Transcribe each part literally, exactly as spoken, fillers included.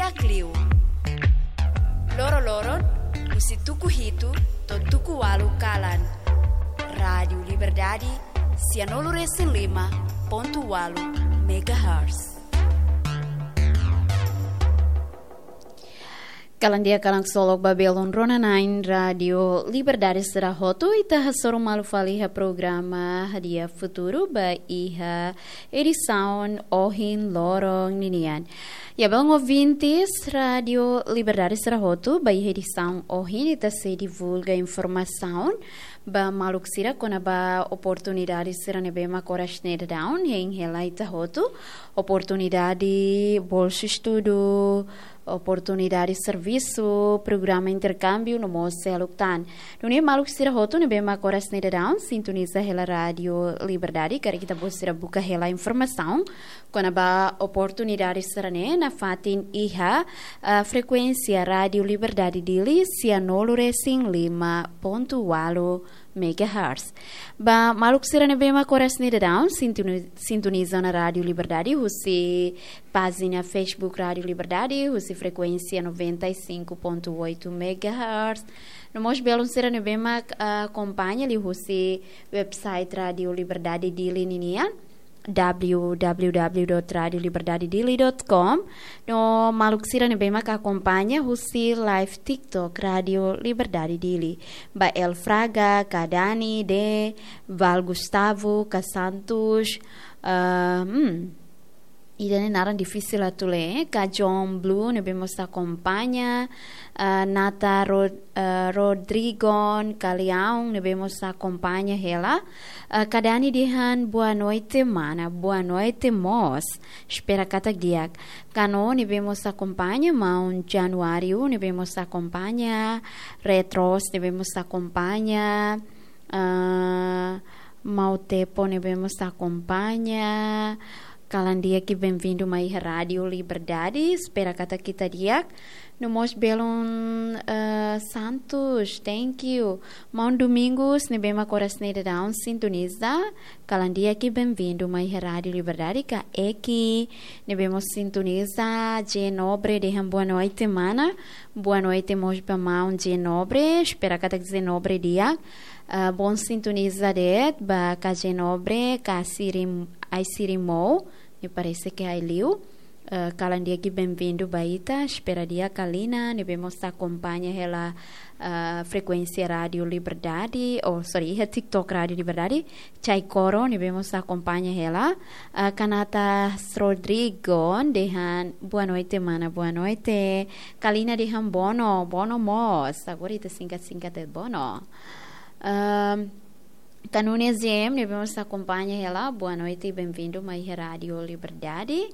Ita liu. Loro-loron, husi tuku hitu to'o tuku ualu kalan. Rádiu Liberdade, sianulu-resin-lima pontu ualu megahertz. Kalan di'ak, kalan ksolok ba belun rona-na'in Rádiu Liberdade sira hotu, ita hasoru malu fali iha programa Hadi'a Futuru ba iha edisaun ohin loron ninian. Ya, belun ouvintes Rádiu Liberdade sira hotu, ba iha edisaun ohin ita sei divulga informasaun ba maluk sira kona-ba oportunidade sira ne'ebé mak oras ne'e daudaun hein hela ita hotu, oportunidade bolsa estudu, oportunidade servisu, programa interkámbiu no mós seluk tan. Nune'e maluk sira hotu ne'ebé mak oras ne'e daudaun sintoniza hela Rádiu Liberdade, karik ita-boot sira buka hela informasaun kona-ba oportunidade sira-ne'e nafatin iha, ah, frekuénsia Rádiu Liberdade Dili, sianulu-resin-lima pontu ualu megahertz. Ba maluk sira ne'ebé mak oras ne'e daudaun sintoni-, sintoniza ona Rádiu Liberdade husi pájina Facebook Rádiu Liberdade, husi frekuénsia noventa e cinco ponto oito megahertz. No mós belun sira ne'ebé mak, ah, akompaña liuhusi website Rádiu Liberdade Dili ninian, w w w dot radio liberdade dili dot com. No maluk sira ne'ebé mak akompaña husi live TikTok Rádiu Liberdade Dili. Ba El Fraga, Ka Dani, De, Val Gustavo, Ka Santos, ah, hmm, ida-ne'e naran difisil atu lee, Ka John Blue ne'ebé mós akompaña, ah, Nata Rod-, ah, Rodrigon, Ka Leão ne'ebé mós akompaña hela, ah, Ka Dani dehan boa noite mana, boa noite mós. Espera katak di'ak. Ka No ne'ebé mós akompaña, maun Januário ne'ebé mós akompaña, Retros ne'ebé mós akompaña, ah, Mau Tepo ne'ebé mós akompaña. Kalan di'ak i benvindu mai iha Rádiu Liberdade, espera katak ita di'ak. No mós belun, eh, Santos, thank you. Maun Domingos ne'ebé mak oras ne'e daudaun sintoniza, kalan di'ak i benvindu mai iha Rádiu Liberdade. Ka Eki ne'ebé mós sintoniza, J Nobre dehan boa noite mana, boa noite mós ba maun J Nobre, espera katak J Nobre di'ak. Ah, bom sintoniza de'it ba Ka J Nobre, Ka Sirim, Ai Sirimou, me parece que ai liu. Ah, kalan di'ak i benvindu ba ita, espera di'ak. Ka Lina ne'ebé mós akompaña hela, ah, frekuénsia Rádiu Liberdade, oh, sorry, iha TikTok Rádiu Liberdade, Chai Coro ne'ebé mós akompaña hela, ah, Ka Nata Rodrigo dehan boa noite mana, boa noite. Ka Lina dehan bono, bono mós, agora ita singkat-singkat de'it bono. Ahm, Ka Nunes J M ne'ebé mós akompaña hela, boa noite i benvindu mai iha Rádiu Liberdade.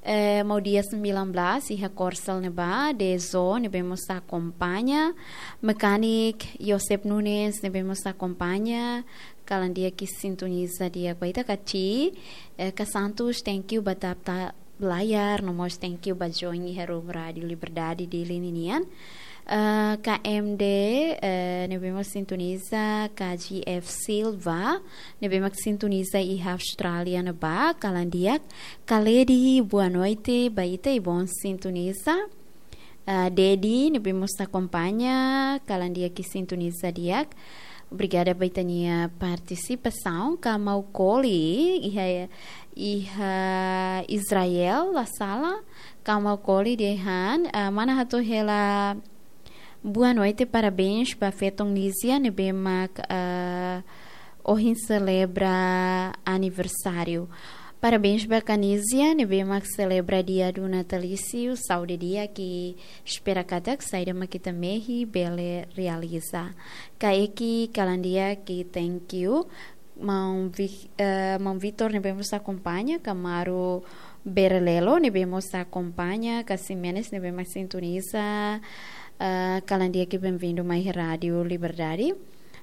Eh, Mau Dia sembilan belas iha Korsel ne'ebá, Dezo ne'ebé mós akompaña, Mekanik Yosep Nunes ne'ebé mós akompaña, kalan di'ak i sintoniza di'ak ba ita. Ka Ti, eh, Ka Santos, thank you ba tap-tap layar, no mós thank you ba join iha room Rádiu Liberdade Dili ninian. Eh, K M D, eh, ne'ebé mak sintoniza, K G F Silva, ne'ebé mak sintoniza iha Austrália ne'ebá, kalan di'ak. Ka Ledi, boa noite ba ita i bom sintoniza. Eh, Dedi, ne'ebé mós akompaña, kalan di'ak i sintoniza di'ak. Obrigada ba ita-nia partisipasaun. Ka Mau Koli, iha, iha Israel, la sala. Ka Mau Koli dehan, ah, mana hato'o hela boa noite, parabéns ba feton Nizia ne'ebé mak, ah, ohin selebra aniversáriu. Parabéns ba Ka Nizia ne'ebé mak selebra dia do natalício, saúde di'ak i espera katak saida mak ita mehi bele realiza. Ka Eki, kalan di'ak i thank you. Maun Vi-, eh, Maun Vitor ne'ebé mós akompaña, Ka Maru Berlelo ne'ebé mós akompaña, Ka Ximenes ne'ebé mak sintoniza, eh, kalan di'ak i benvindu mai Rádiu Liberdade.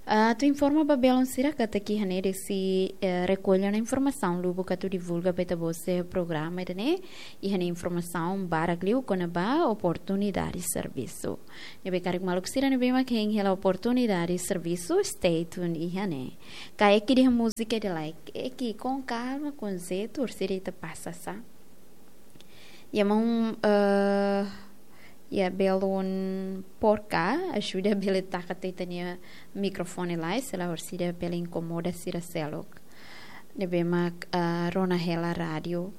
Ah, atu informa ba belun sira katak iha ne'e de'it sei, eh, rekolla ona informasaun lubuk atu divulga ba ita-boot sira iha programa ida-ne'e, iha ne'e informasaun barak liu kona-ba oportunidade servisu. Ne'ebé karik maluk sira ne'ebé mak hein hela oportunidade servisu, stay tuned iha ne'e. Ka Eki dehan múzika ida lai, Eki, com calma, com jeito, orsida ita pasa sa. Ya maun, eh, Ya, belun porka, ajuda bele taka tiha ita-nia mikrofone lai, se la orsida bele inkomoda sira seluk. Ne'ebé mak, ah, rona hela rádiu.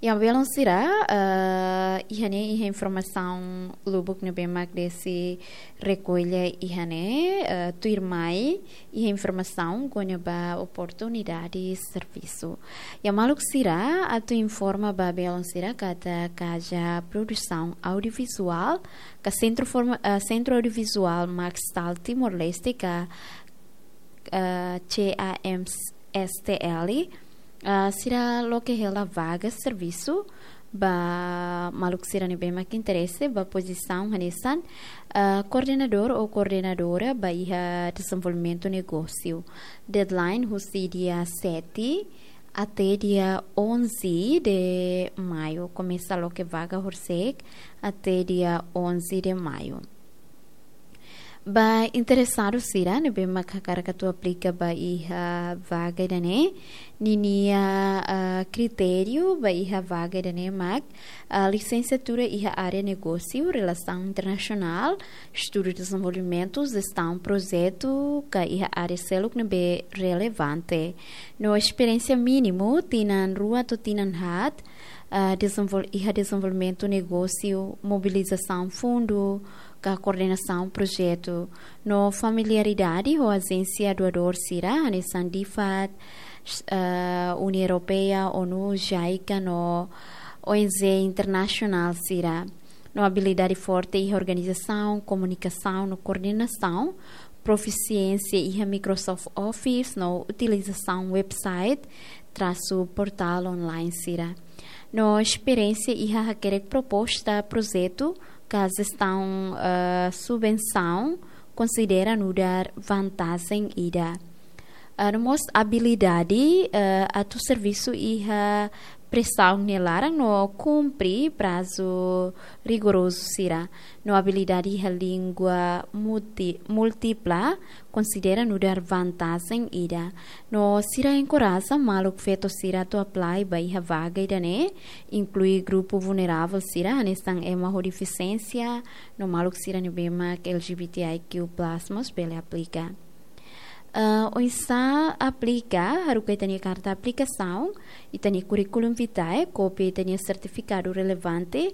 Ya, belun sira, ah, iha ne'e iha informasaun lubuk ne'ebé mak Desi rekolla iha ne'e, ah, tuirmai iha informasaun kona-ba oportunidade servisu. Ya, maluk sira, atu informa ba belun sira katak kaza produsaun audiovizuál, ka sentru forma-, ah, sentru audiovizuál Maxtal Timor-Leste, ka, ah, C A M S T L, ah, sira loke hela vaga servisu ba maluk sira ne'ebé mak interese ba pozisaun hanesan, ah, koordenadór ou koordenadora ba iha dezenvolvimentu negósiu. Deadline husi dia sete até dia onze de maio. Komesa loke vaga horisehik até dia onze de maio. Ba interesadu sira ne'ebé mak hakarak atu aplika ba iha vaga ida-ne'e, ninia, ah, kritériu ba iha vaga ida-ne'e mak, ah, lisensiatura iha área negósiu, relasaun internasionál, estudu dezenvolvimentu, jestaun projetu, ka iha área seluk ne'ebé relevante. No esperiénsia mínimu tinan rua to'o tinan haat, ah, dezenvol-, iha dezenvolvimentu negósiu, mobilizasaun fundu, ka koordenasaun projetu. No familiaridade ho ajénsia doadór sira, hanesan DFAT, eh, União Europeia, ONU, JICA, no ONG internasionál sira. No abilidade forte iha organizasaun, komunikasaun no koordenasaun, profisiénsia iha Microsoft Office no utilizasaun website, trasu portál online sira. No esperiénsia iha hakerek proposta projetu, ka jestaun, eh, subvensaun, konsidera nu'udar vantajen ida. Ah, no mós abilidade, eh, atu servisu iha presaun nia laran no kumpre prazu rigorozu sira. No abilidade iha língua multi-, múltipla, konsidera nu'udar vantajen ida. No sira enkoraja maluk feto sira atu apply ba iha vaga ida-ne'e, inklui grupu vulneravel sira, hanesan ema ho defisiénsia, no maluk sira ne'ebé mak L G B T I Q plus mós bele aplika. Ah, oinsá aplika, haruka ita-nia karta aplikasaun, ita-nia curriculum vitae, kópia ita-nia sertifikadu relevante,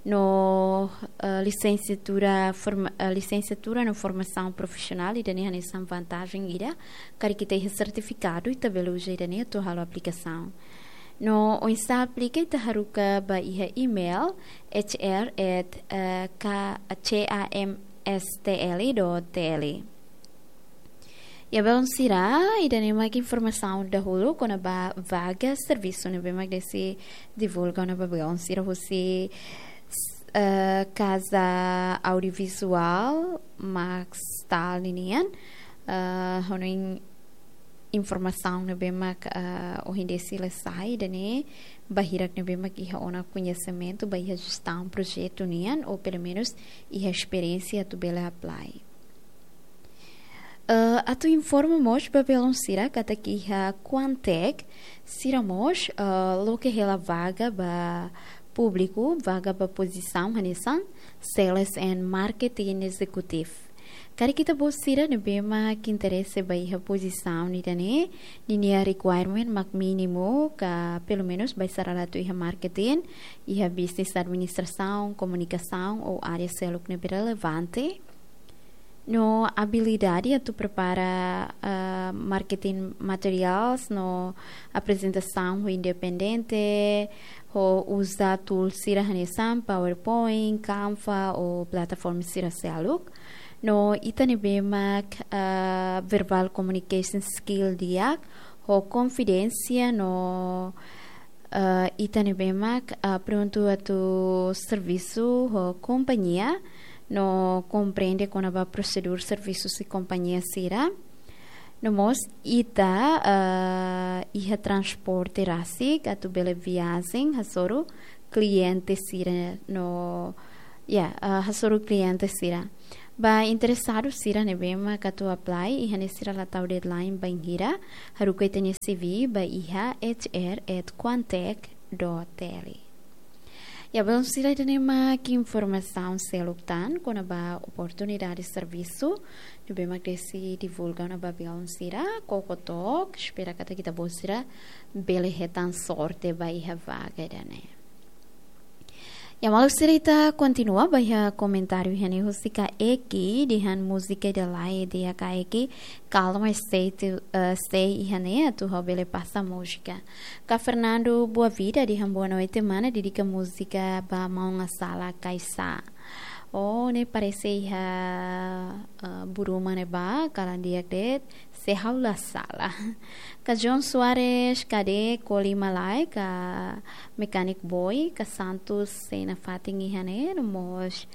no, ah, lisensiatura forma-, ah, lisensiatura no formasaun profisionál, ida-ne'e hanesan vantajen ida, karik ita iha sertifikadu, ita bele uza ida-ne'e atu halo aplikasaun. No oinsá aplika, ita haruka ba iha email, H R at, eh, K-, C A M S T L dot T L. Ya, belun sira, ida-ne'e mak informasaun dahuluk kona-ba vaga servisu ne'ebé mak Desi divulga ona ba belun sira husi, eh, Kaza Audiovizuál Maxtal ninian, eh, hanoin informasaun ne'ebé mak, eh, ohin Desi la sai, ida-ne'e ba hirak ne'ebé mak iha ona koñesimentu ba iha jestaun projetu nian, ou pelumenus iha esperiénsia atu bele apply. Eh, atu informa mós ba belun sira katak iha Quantec, sira mós, eh, loke hela vaga ba públiku, vaga ba pozisaun hanesan Sales and Marketing Executive. Karik ita-boot sira ne'ebé mak interese ba iha pozisaun ida-ne'e, ninia requirement mak mínimu ka pelumenus bá sira atu iha marketing, iha business administrasaun, komunikasaun ou área seluk ne'ebé relevante. No abilidade atu prepara, ah, marketing materials no aprezentasaun ho independente, ho uza tools sira hanesan PowerPoint, Canva ou plataforma sira seluk. No ita ne'ebé mak, ah, verbal communication skill di'ak, ho konfidénsia no, ah, ita ne'ebé mak, ah, prontu atu servisu ho kompañia, no komprende kona-ba prosedur servisu husi kompañia sira. No mós ita, ah, iha transporte rasik atu bele viajen hasoru kliente sira no, ya, ah, hasoru kliente sira. Ba interesadu sira ne'ebé mak atu apply, iha ne'e sira la tau deadline bainhira, haruka ita-nia C V ba iha H R at quantec dot T L. Ya, belun sira, ida-ne'e mak informasaun seluk tan kona-ba oportunidade servisu ne'ebé mak Desi divulga ona ba belun sira, Coco Talk. Espera katak ita-boot sira bele hetan sorte ba iha vaga ida-ne'e. Ya, maluk sira, ita kontinua ba iha komentáriu iha ne'e husi Kak Eki, dehan múzika ida lai, dehan Kak Eki, kalma, stay to, eh, stay iha ne'e atu ha'u bele pasa múzika. Kak Fernando Boa Vida dehan boa noite mana, dedika múzika ba maun Asala Kaisa. Oh, ne'e parese iha, eh, Buruma ne'ebá, kalan di'ak de'it, se ha'u la sala. Kak John Soares, Kade Koli Malai, Kak Mechanic Boy, Kak Santos sei nafatin iha ne'e, no mós,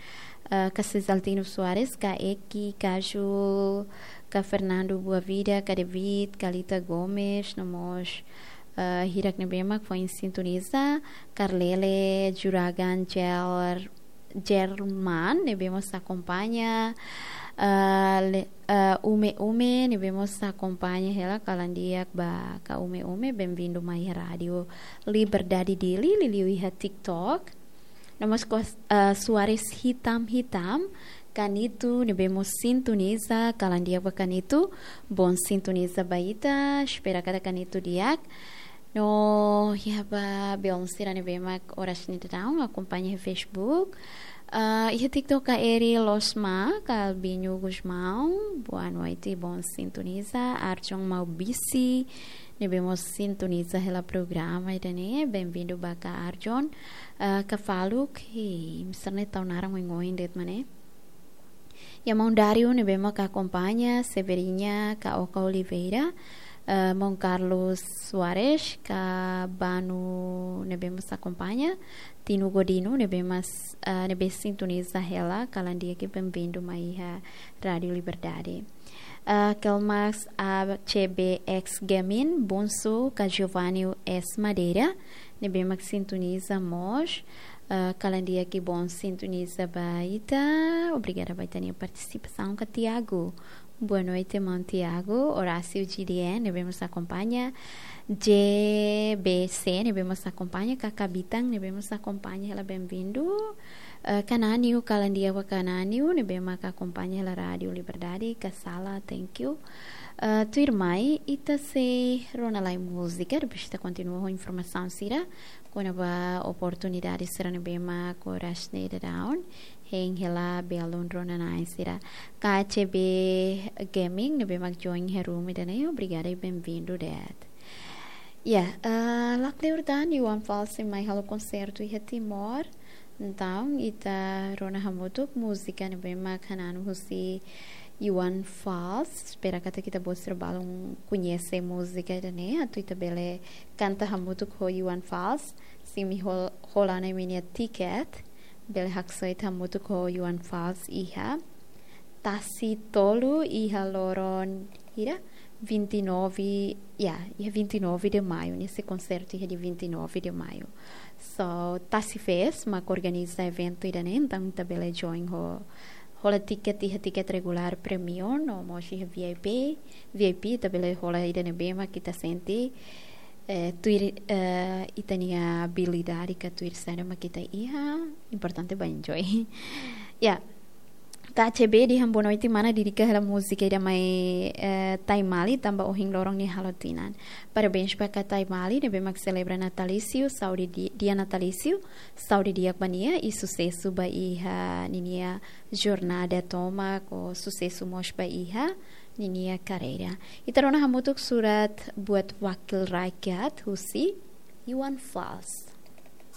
eh, Kak Cesaltino Soares, Kak Eki Kaju, Kak Fernando Boa Vida, Kak David, Kalita Gomes, no mós, eh, hirak ne'ebé mak foin sintoniza, Karlele Juragan Jer-, Jerman, ne'ebé mós akompaña, eh, le-, eh, Ume Ume, ne'ebé mós akompaña hela, kalan di'ak ba Kak Ume Ume, bem-vindo mai Rádio Liberdade Dili, liuliu iha TikTok. No mós Kak, eh, Soares Hitam Hitam, Kak Nitu, ne'ebé mós sintoniza, kalan di'ak ba Kak Nitu, bom sintoniza ba ita, espera katak Kak Nitu di'ak. No, ya ba belun sira ne'ebé mak oras ne'e daudaun akompaña iha Facebook. Ah, iha TikTok Kak Eri Losma, Kak Albinho Gusmão, boa noite, bom sintoniza. Arjon Maubisi, ne'ebé mós sintoniza hela programa ida-ne'e, bem-vindo ba Kak Arjon. Ah, Kak Faluk, hi, mister ne tau naran oin-oin de'it mana. Ya, maun Dario ne'ebé mak akompaña, Severina, Kak Oka Oliveira, eh, maun Carlos Soares, Kak Banu ne'ebé mós akompaña, Tino Godino ne'ebé mós, eh, ne'ebé sintoniza hela, kalan di'ak, bem-vindo mai iha Rádio Liberdade. Eh, Kelmax A C B X Gaming, Bonso, Kak Giovanni S Madeira, ne'ebé mak sintoniza mós, eh, kalan di'ak, bom sintoniza ba ita. Obrigada ba ita-nia partisipasaun. Kak Tiago, boa noite, maun Tiago. Horácio G D N, ne'ebé mós akompaña. J B C, ne'ebé mós akompaña. Kak Kabitang, ne'ebé mós akompaña hela, bem-vindo. Eh, Kak Naniu, kalan di'ak ba Kak Naniu, ne'ebé mak akompaña hela Rádio Liberdade. Kak Sala, thank you. Eh, tuirmai, ita sei rona lai múzika, depois ita kontinua ho informasaun sira kona-ba oportunidade sira ne'ebé mak oras ne'e daudaun hein hela belun rona-na'in sira. Kak A C B Gaming ne'ebé mak join iha room ida-ne'e, obrigada i bem-vindo de'it. Ya, eh, lakleur tan Iwan Fals sei mai halo konsertu iha Timor. Entaun, ita rona hamutuk múzika ne'ebé mak hananu husi Iwan Fals. Espera katak ita-boot sira balun koñese múzika ida-ne'e, atu ita bele kanta hamutuk ho Iwan Fals. Se imi hol-, hola ona imi-nia tiket, bele haksoit hamutuk ho Iwan Fals iha Tasi Tolu, iha loron hira, vinte e nove, ya, iha vinte e nove de maio, nia sei konsertu iha dia vinte e nove de maio. So, Tasi Fest mak organiza eventu ida-ne'e, entaun ita bele join ho, hola tiket, iha tiket regulár, premium, no mós iha V I P. V I P ita bele hola ida ne'ebé mak ita sente, eh, tuir, eh, ita-nia abilidade ka tuir saida mak ita iha, importante ba enjoy. Ya. Kak A C B dehan boa noite mana, dedika hela múzika ida mai, eh, Taimali, tanba ohin loron nia halo tinan. Parabéns ba Kak Taimali ne'ebé mak selebra natalísiu, saúde di-, dia natalísiu, saúde di'ak ba nia i susesu ba iha ninia jornada tomak, ho susesu mós ba iha ninia karreira. Ita rona hamutuk Surat Buat Wakil Rakyat husi Iwan Fals.